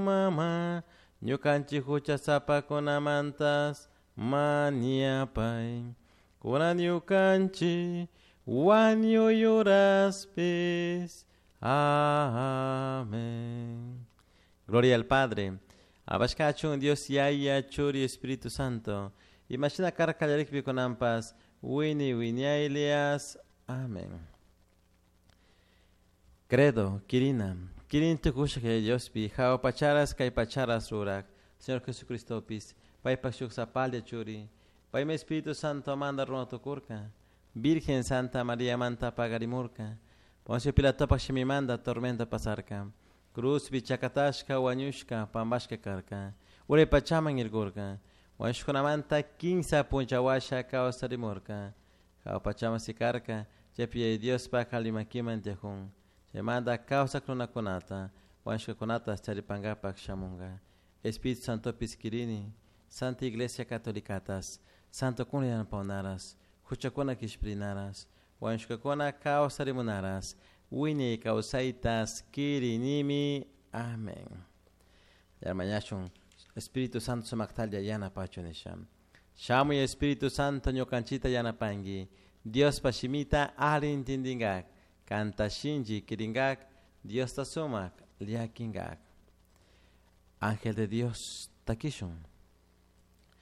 mama, ñukanchik huchasapakunamantas mañapay. Kunan ñukanchik wañuy uraspis. Amén. Gloria al Padre. Abashkachun Dios Yaya Churi Espíritu Santo. Imashina karka kallarikpi kunanpas wini wiñaylias. Amén. Credo, Kirina, Kirin tukusha que Diospi, jao pacharas kay pacharas rurak, Señor Jesucristopis, paypak shuk sapalla churi, paymi Espíritu Santo manda runa tukurka, Virgen Santa María manta pagarimurka, Poncio Pilatopak shimimanda tormenta pasarka, Cruzpi chakatashka wañushka pambashka karka, uray pachaman irkurka, wañushkunamanta kinsa punchawasha kawsarimurka, jao pachaman sikarka, chaypi Diospak alli makiman tiyajun, chaymanta kawsak runakunata, wañushkakunata charipankapak shamunka. Espíritu Santopis kirini, Santa Iglesia Catolicatas, Santo kuna yanapawnaras, huchakuna kishpirinaras, wañushkakuna kawsarimunaras, wiñay kawsaytas kirinimi. Amén. Yarmañashun Espíritu Santo sumaktalla yanapachu nisha. Shamuy Espíritu Santo ñukanchita yanapanki. Diospa shimita alli intindingak. Kanta shinchi kiringak. Diosta sumak llakinkak. Ángel de Dios, takishun.